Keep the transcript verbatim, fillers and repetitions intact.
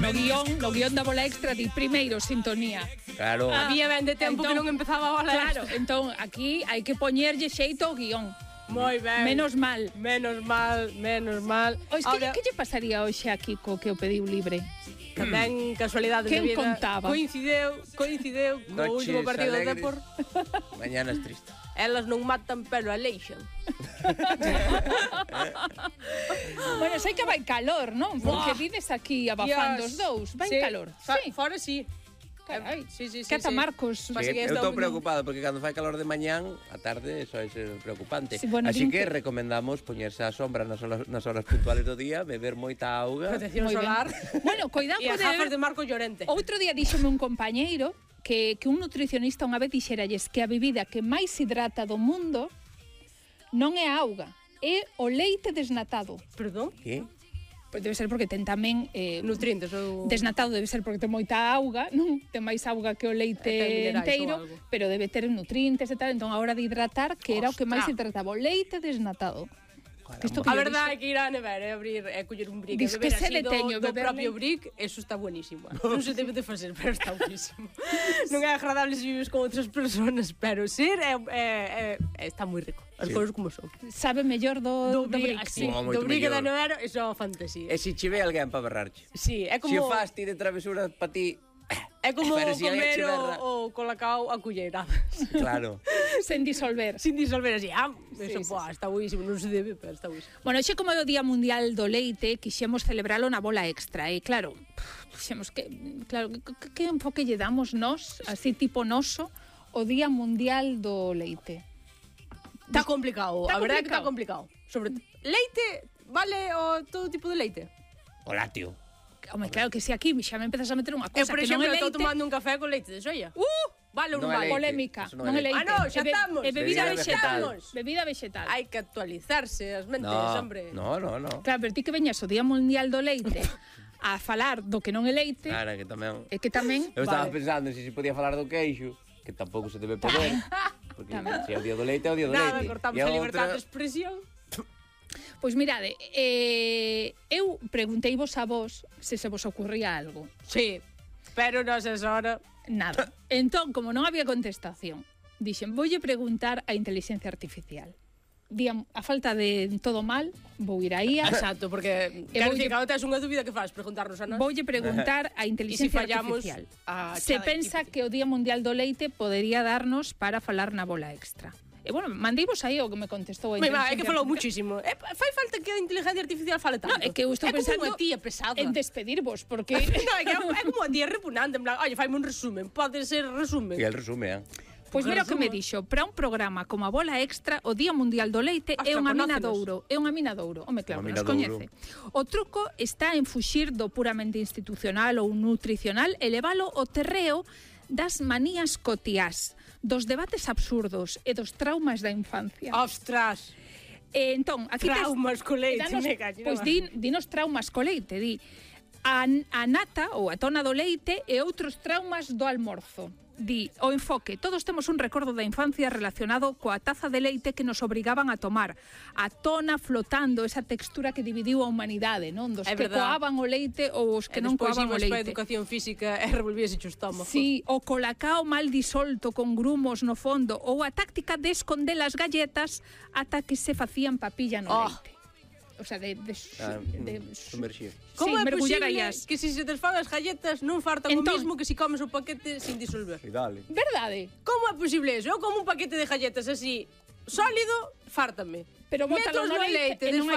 no guión, no guión da Bola Extra di primeiro sintonía. Claro. Ah, había ben de tempo entón, que non empezaba a Bola Extra. Claro, Extra. entón aquí hai que poñerlle xeito ao guión. Moi ben. Menos mal. Menos mal, menos mal. Ois, que, que lle pasaría hoxe a Kiko que o pediu libre? Tamén casualidades de vida. Quen contaba? Coincideu, coincideu co último partido do Depor. Mañanas tristes. Elas non matan, pero aleixan. Bueno, sei que vai calor, non? Porque vides aquí abafando os dous. Vai sí. calor. Sí. Fora sí. Carai, sí, sí, sí, Cata sí. Marcos. Sí, eu estou preocupado porque cando fai calor de mañán, a tarde eso é preocupante. Sí, bueno, así que, que recomendamos poñerse á sombra nas horas, nas horas puntuales do día, beber moita auga. Protección solar. Bueno, cuidado e as gafas de Marco Llorente. Outro día díxome un compañeiro que, que un nutricionista unha vez dixeralles que a bebida que máis hidrata do mundo non é a auga, é o leite desnatado. Perdón? Que? Pois debe ser porque ten tamén eh, nutrientes ou desnatado, debe ser porque ten moita auga, non? Ten máis auga que o leite enteiro, pero debe ter nutrientes e tal, entón a hora de hidratar, que era Ostras. o que máis hidrataba, o leite desnatado. Isto que a verdade é que ir á nevera e abrir e coller un brick e beber así do, teño, do propio brick, eso está buenísimo. Non se debe de facer, pero está buenísimo. Non é agradable se vives con outras persoas, pero ser é, é, é, está moi rico. As sí. cousas como son. Sabe mellor do, do, do brick. Sí, oh, do brick da nevera, eso é unha fantasía. E se che ve alguén para berrarche. Sí, é como... Se o faz ti de travesura para ti... É como si comer o, o colacao a culleiradas. Claro. Sen disolver. Sin disolver, así. Ah, eso, sí, poa, sí. Está buísimo, non se debe, pero está buísimo. Bueno, xe como é o Día Mundial do Leite, quixemos celebralo na Bola Extra. E claro, quixemos que, claro, que, que enfoque lle damos nós, así tipo noso, o Día Mundial do Leite. Está complicado, a verdade é que está complicado. Sobre leite, vale o todo tipo de leite? O lácteo. Home, claro que si aquí xa me empezas a meter unha cosa eu, por que exemplo, non é leite. estou tomando un café con leite de soia. Uh! Vale, non, non vale. Polémica. Non é leite. Ah, no, xa estamos. É bebida, bebida vegetal. vegetal. Bebida vegetal. Hai que actualizarse as mentes, no, hombre. No, no, no. Claro, pero ti que veñas o Día Mundial do Leite a falar do que non é leite. Claro, que tamén. É que tamén. Eu estaba vale. pensando se se podía falar do queixo, que tampouco se debe poder. Porque se é o Día do Leite, é o Día do Nada, Leite. Nada, cortamos a, a libertad de expresión. Pois mirade, eh, eu pregunteivos a vos se se vos ocurría algo. Sí, pero non se hora. Nada. Entón, como non había contestación, dixen, voulle preguntar a inteligencia artificial. Dían, a falta de todo mal, vou ir aí a... Exacto, porque quero dicir, cando tes unha dúbida que faz, preguntarnos a nós. Voulle preguntar a inteligencia si artificial a se pensa que o Día Mundial do Leite podería darnos para falar na Bola Extra. E bueno, mandeivos aí o que me contestou a inteligencia artificial. É que falou muchísimo. É, fai falta que a inteligencia artificial fale tanto. No, é que eu estou é pensando como a tía pesada. En despedirvos, porque... no, é, que é como a tía repugnante, en plan, oye, faime un resumen, pode ser resumen. E el resume, eh? Pois mira o que me dixo, para un programa como a Bola Extra, o Día Mundial do Leite é unha mina de ouro, é unha mina de ouro, home claro, nos coñece. O truco está en fuxir do puramente institucional ou nutricional e levalo ao terreo das manías cotiás, dos debates absurdos e dos traumas da infancia. Ostras! E entón, aquí traumas co leite, danos, me callo. Pois di, dinos traumas co leite, di a, a nata ou a tona do leite e outros traumas do almorzo. Di, o enfoque, todos temos un recordo da infancia relacionado coa taza de leite que nos obrigaban a tomar, a tona flotando, esa textura que dividiu a humanidade, non? Dos é que verdad. coaban o leite ou os que non coaban o leite. E despois imos para a educación física e revolvíase o estómago. Sí, o colacao mal disolto con grumos no fondo ou a táctica de esconder as galletas ata que se facían papilla no oh. leite. O sea, de, de, ah, de sumerxir. Como sí, é posible as... que se se desfan as galletas non fartan entón, o mismo que se comes o paquete sin disolver? Sí, dale. Verdade? Como é posible eso? Eu como un paquete de galletas así, sólido, fártame. Pero bótalo no leite, e non hai